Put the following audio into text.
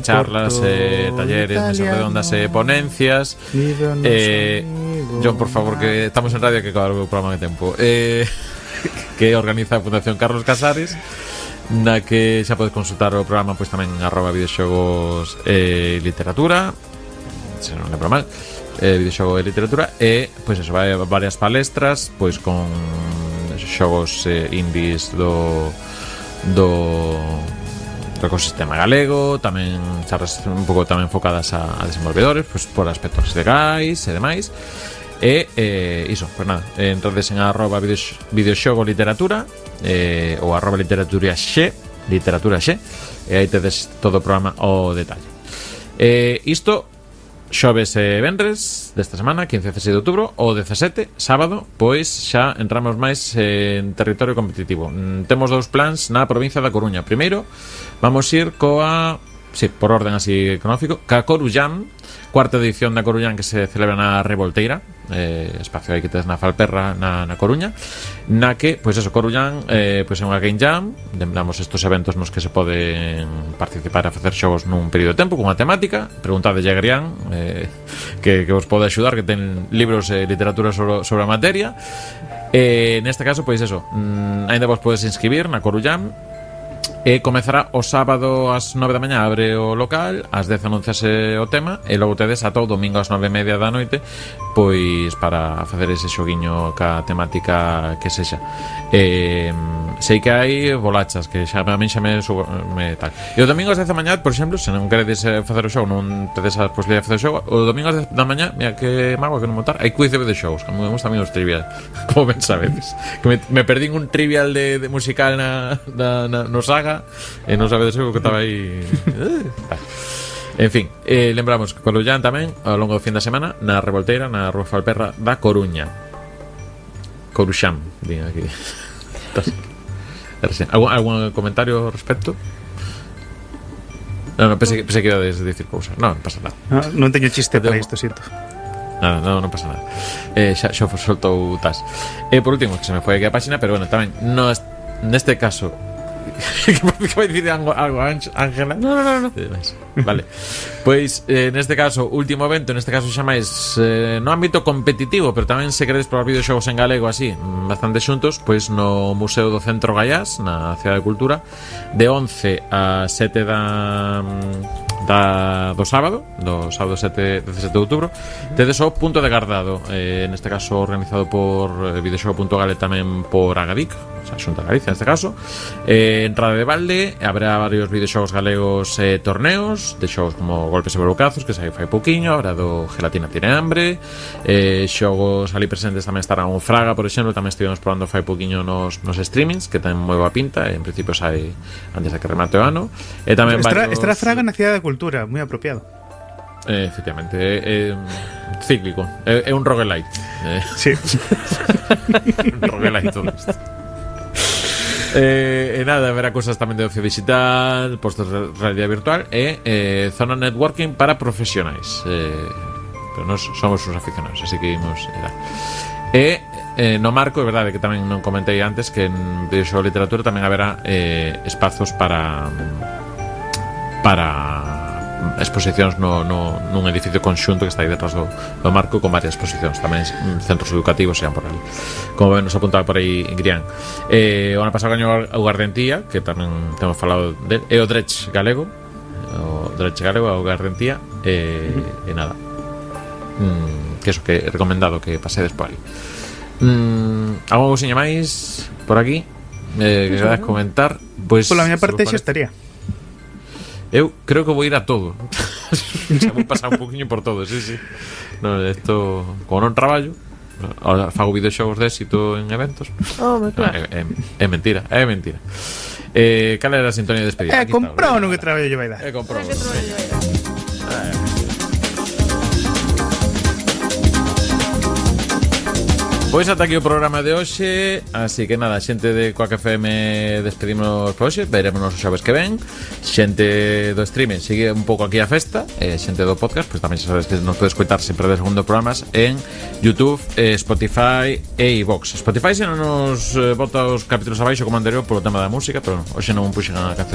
charlas, talleres, mesas redondas, ponencias. John, por favor, que estamos en radio, que acabar o programa de tempo. Que organiza a Fundación Carlos Casares, na que xa podes consultar o programa pois tamén @videoxogos literatura, se non lembro mal, videoxogo e literatura, e pois eso, vai varias palestras pois con xogos indies do ecosistema galego, tamén charlas un pouco tamén focadas a desenvolvedores, pois por aspectos legais e demais. E iso, pues nada, entonces en @videoxogo literatura ou @literatura xe, e aí tedes todo o programa ao detalle. Isto xoves e venres desta semana, 15 e 16 de outubro. O 17, sábado, pois xa entramos máis en territorio competitivo. Temos dous plans na provincia da Coruña. Primeiro, vamos ir coa, por orden así cronológico, ca Corujam, cuarta edición da Coruñán, que se celebra na Revolteira, espacio aí que tes na Falperra, na Coruña, na que, pois eso, Coruñán pois é unha game jam. Lembramos estos eventos nos que se poden participar a facer xogos nun período de tempo cunha temática. Preguntade a Grián, que vos pode axudar, que ten libros e literatura sobre a materia. Neste caso, pois eso, ainda vos podes inscribir na Coruñán. E comezará o sábado ás 9 da mañá, abre o local, ás 10 anunciase o tema, e logo tedes ata o domingo ás 9:30 da noite pois para facer ese xoguiño ca temática que sexa. Sei que hai bolachas que xa a min xa me tal. E o domingo ás 10 da mañá, por exemplo, se non queredes facer o xogo, non tedes a posibilidade de facer o xogo, o domingo ás 10 da mañá, mira que mago que non montar, hai quiz de videoxogos, que me gusta a mí os trivial, como ben sabedes, que me perdín un trivial de musical no Saga, e non sabedes o que estaba aí. En fin, lembramos que Coruñán tamén ao longo do fin da semana na Revolteira, na Rúa Falperra da Coruña. Coruxam, din aquí. ¿Algún comentario ao respecto? Non, pensei que iba a decir cousas. Non pasa nada. Non teño chiste para isto, siento. Nada, non pasa nada. Xa soltou tas. Por último, que se me foi aquí a página, pero bueno, tamén neste caso que vai dicir algo Ángela? No. Vale. Pois neste caso, último evento, neste caso xa máis no ámbito competitivo, pero tamén se queredes probar videoxogos en galego así, bastante xuntos, pois no Museo do Centro Gaiás, na Cidade de Cultura, de 11 a 7 do sábado 17 de outubro, tedes o punto de guardado, neste caso organizado por videoxogo.gal e tamén por Agadic, o sea, Xunta de Galicia neste caso. Entrada de balde, habrá varios videoxogos galegos, torneos de xogos como Golpes e Borucazos, que se fai pouquiño, habrá do Gelatina tiene hambre, xogos ali presentes tamén estará un Fraga, por exemplo, tamén estivemos probando fai pouquiño nos streamings, que ten moi boa pinta, en principio sai antes de que remate o ano. E tamén estará Fraga na Cidade de Cultura, moi apropiado. Efectivamente, cíclico, é un roguelite. Sí. Un roguelite todo isto. E nada, haberá cosas tamén de ocio digital, postos de realidade virtual e zona networking para profesionais. Pero nós somos uns aficionados, así que imos no marco, é verdade que tamén non comentei antes, que en videoxogo literatura tamén haberá espazos para exposicións nun edificio conxunto que está aí detrás do marco, con varias exposicións tamén, centros educativos sean por ali, como ben nos apuntaba por aí Grián. O ano pasado gañou o Gardentía, que tamén temos falado de, e o Dredge galego, o Gardentía, e nada, que eso, que é recomendado que pasedes por ali. Algo cousiña máis por aquí que queras comentar? Pois pola miña parte xa estaría. Eu creo que vou ir a todo. Xa vou pasar un poquinho por todo, sí. No, esto, como non traballo, ahora fago videoxogos de éxito en eventos. Claro. É mentira. Cal era a sintonía de despedida? Comprou no que traballo lle vai dar. Comprou. Pois ata aquí o programa de hoxe. Así que nada, xente de Quack FM despedimos por hoxe. Verémonos os xoves que ven. Xente do streaming sigue un pouco aquí a festa. Xente do podcast, pois tamén xa sabes que nos podes escoitar sempre de segundo programas en YouTube, Spotify e iVox. Spotify xa non nos bota os capítulos abaixo como anterior polo tema da música, pero hoxe non puxen a canción